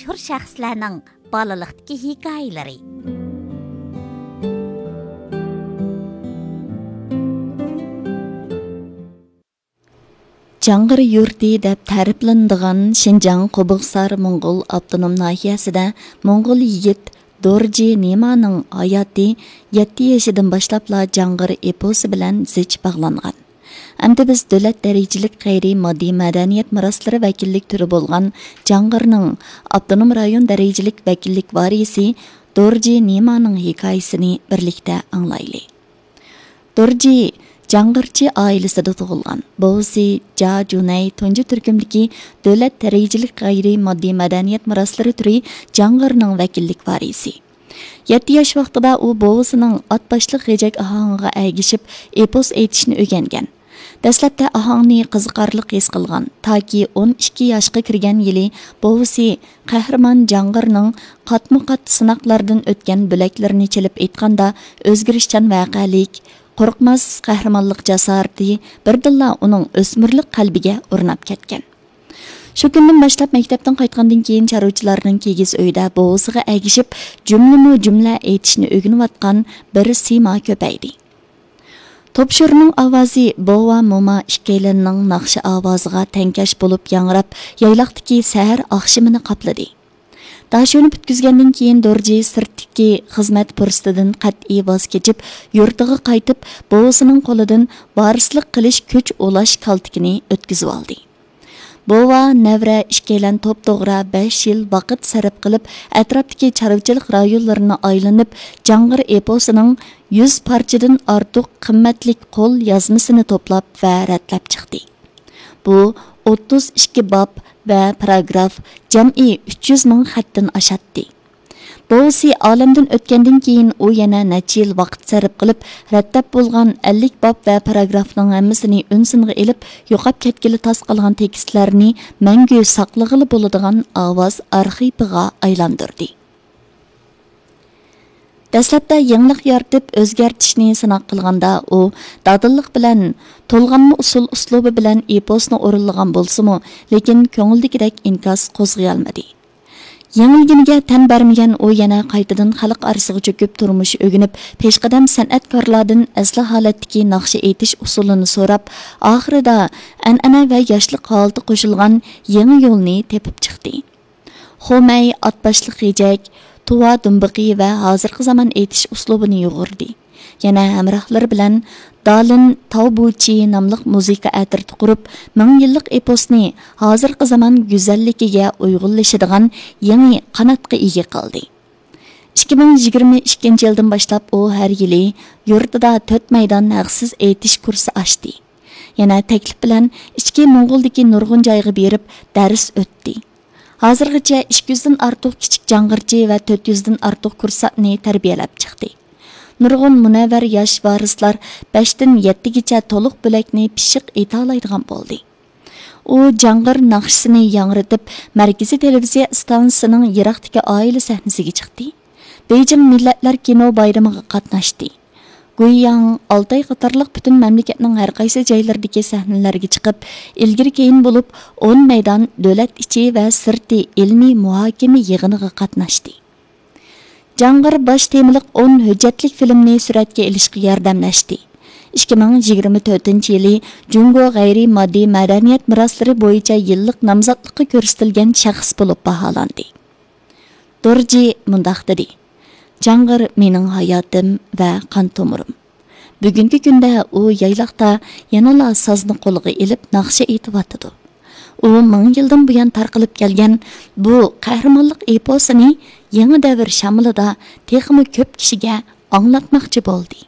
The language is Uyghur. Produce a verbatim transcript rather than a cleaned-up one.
مەشھۇر شەخسلەرنىڭ بالىلىقتىكى ھېكايىلىرى. جاڭغىر يۇرتى دەپ تەرىپلىنىدىغان شىنجاڭ قوبۇقسار موڭغۇل ئاپتونوم ناھىيەسىدە موڭغۇل يىگىت دورجى نېمانىڭ ھاياتى يەتتە يېشىدىن باشلاپلا جاڭغىر ئېپوسى بىلەن زىچ باغلانغان. ئەمدى بىز دۆلەت دەرىجىلىك غەيرىي ماددىي مەدەنىيەت مىراسلىرى ۋەكىللىك تۈرى بولغان جاڭغىرنىڭ ئاپتونوم رايون دەرىجىلىك ۋەكىللىك ۋارىسى دورجى نېمانىڭ ھېكايىسىنى بىرلىكتە ئاڭلايلى. دورجى جاڭغىرچى ئائىلىسىدە تۇغۇلغان. بوۋىسى جا جۇنەي تۇنجى تۈركۈمدىكى دۆلەت دەرىجىلىك غەيرىي ماددىي مەدەنىيەت مىراسلىرى تۈرى جاڭغىرنىڭ ۋەكىللىك ۋارىسى. يەتتە ياش ۋاقتىدا ئۇ بوۋىسىنىڭ ئات باشلىق غېجەك ئاھاڭىغا ئەگىشىپ ئېپوس ئېيتىشنى ئۆگەنگەن. دەسلەپتە ئاھاڭنى قىزىقارلىق ھېس قىلغان، تاكى ئون ئىككى ياشقا كىرگەن يىلى بوۋىسى قەھرىمان جاڭغىرنىڭ قاتمۇ قات سىناقلاردىن ئۆتكەن بۆلەكلىرىنى چېلىپ ئېيتقاندا، ئۆزگىرىشچان ۋەقەلىك، قورقماس قەھرىمانلىق جاسارىتى بىردىنلا ئۇنىڭ ئۆسمۈرلۈك قەلبىگە ئورناپ كەتكەن. شۇ كۈندىن باشلاپ مەكتەپتىن قايتقاندىن كېيىن چارۋىچىلارنىڭ كىگىز ئۆيىدە بوۋىسىغا ئەگىشىپ جۈملىمۇ جۈملە ئېيتىشنى ئۆگىنىۋاتقان بىر سىيما كۆپەيدى. توپشۇرنىڭ ئاۋازى بوۋا موما ئىككىيلەننىڭ ناخشا ئاۋازىغا تەڭكەش بولۇپ ياڭراپ، يايلاقتىكى سەھەر ئاخشىمىنى قاپلىدى. داشۆنى پۈتكۈزگەندىن كېيىن دورجى سىرتتىكى خىزمەت پۇرسىتىدىن قەتئىي ۋاز كېچىپ، يۇرتىغا قايتىپ، بوۋىسىنىڭ قولىدىن ۋارىسلىق قىلىش كۈچ ئۇلاش كالتىكىنى ئۆتكۈزۈۋالدى. بوۋا، نەۋرە ئىككىيلەن توپتوغرا بەش يىل ۋاقىت سەرپ قىلىپ، ئەتراپتىكى چارۋىچىلىق رايونلىرىنى ئايلىنىپ، جاڭغىر ئېپوسىنىڭ يۈز پارچىدىن ئارتۇق قىممەتلىك قول يازمىسىنى توپلاپ ۋە رەتلەپ چىقتى. بۇ ئوتتۇز ئىككى باب ۋە پاراگراف، جەمئىي ئۈچ يۈز مىڭ خەتتىن ئاشاتتى. بوۋىسى ئالەمدىن ئۆتكەندىن كېيىن، ئۇ يەنە نەچچە يىل ۋاقىت سەرپ قىلىپ، رەتلەپ بولغان ئەللىك باب ۋە پاراگرافنىڭ ھەممىسىنى ئۈن سىنغا ئېلىپ، يوقاپ كەتكىلى تاس قالغان تېكىستلەرنى مەڭگۈ ساقلىغىلى بولىدىغان ئاۋاز ئارخىپىغا ئايلاندۇردى. دەسلەپتە يېڭىلىق يارىتىپ ئۆزگەرتىشنى سىناق قىلغاندا، ئۇ دادىللىق بىلەن تولغانما ئۇسسۇل ئۇسلۇبى بىلەن ئېپوسنى ئورۇنلىغان بولسىمۇ، لېكىن كۆڭۈلدىكىدەك ئىنكاس قوزغىيالمىدى. يېڭىلگىنىگە تەن بەرمىگەن ئۇ يەنە قايتىدىن خەلق ئارىسىغا چۆكۈپ تۇرمۇش ئۆگىنىپ، پېشقەدەم سەنئەتكارلاردىن ئەسلى ھالەتتىكى ناخشا ئېيتىش ئۇسۇلىنى سوراپ، ئاخىرىدا ئەنئەنە ۋە ياشلىق ھالىتى قوشۇلغان يېڭى يولنى تېپىپ چىقتى. خۇمەي، ئاتباشلىق غېجەك، تۇۋا دۇمبىقى ۋە ھازىرقى زامان ئېيتىش ئۇسلۇبىنى يۇغۇردى. يەنە ھەمراھلىرى بىلەن دالىن تاۋبۇچى ناملىق مۇزىكا ئەترىتى قۇرۇپ، مىڭ يىللىق ئېپوسنى ھازىرقى زامان گۈزەللىكىگە ئۇيغۇنلىشىدىغان يېڭى قاناتقا ئىگە قىلدى. ئىككى مىڭ يىگىرمە ئىككىنچى يىلدىن باشلاپ ئۇ ھەر يىلى يۇرتىدا تۆت مەيدان ھەقسىز ئېيتىش كۇرسى ئاچتى. يەنە تەكلىپ بىلەن ئىچكى موڭغۇلدىكى نۇرغۇن جايغا بېرىپ دەرس ئۆتتى. ھازىرغىچە ئىككى يۈزدىن ئارتۇق كىچىك جاڭغىرچى ۋە تۆت يۈزدىن ئارتۇق كۇرسانتنى تەربىيەلەپ چىقتى. نۇرغۇن مۇنەۋۋەر ياش ۋارىسلار بەشتىن يەتتىگىچە تولۇق بۆلەكنى پىششىق ئېيتالايدىغان بولدى. ئۇ جاڭغىر ناخشىسىنى ياڭرىتىپ، مەركىزىي تېلېۋىزىيە ئىستانسىسىنىڭ يىراقتىكى ئائىلە سەھنىسىگە چىقتى. بېيجىڭ مىللەتلەر كىنو بايرىمىغا قاتناشتى. گۇيياڭ، ئالتاي قاتارلىق پۈتۈن مەملىكەتنىڭ ھەر قايسى جايلىرىدىكى سەھنىلەرگە چىقىپ، ئىلگىرى كېيىن بولۇپ ئون مەيدان دۆلەت ئىچى ۋە سىرتى ئىلمىي مۇھاكىمە يىغىنىغا قاتناشتى. جاڭغىر باش تېمىلىق ئون ھۆججەتلىك فىلىمنى سۈرەتكە ئېلىشقا ياردەملەشتى. ئىككى مىڭ يىگىرمە تۆتىنچى يىلى جۇڭگو غەيرىي ماددىي مەدەنىيەت مىراسلىرى بويىچە يىللىق نامزاتلىققا كۆرسىتىلگەن شەخس بولۇپ باھالاندى. دورجى مۇنداق دېدى: «جاڭغىر مېنىڭ ھاياتىم ۋە قان تومۇرۇم. بۈگۈنكى كۈندە ئۇ يايلاقتا يەنىلا سازنى قولىغا ئېلىپ ناخشا ئېيتىۋاتىدۇ. ئۇ مىڭ يىلدىن بۇيان تارقىلىپ كەلگەن بۇ قەھرىمانلىق ئېپوسىنى يېڭى دەۋر شامىلىدا تېخىمۇ كۆپ كىشىگە ئاڭلاتماقچى بولدى.»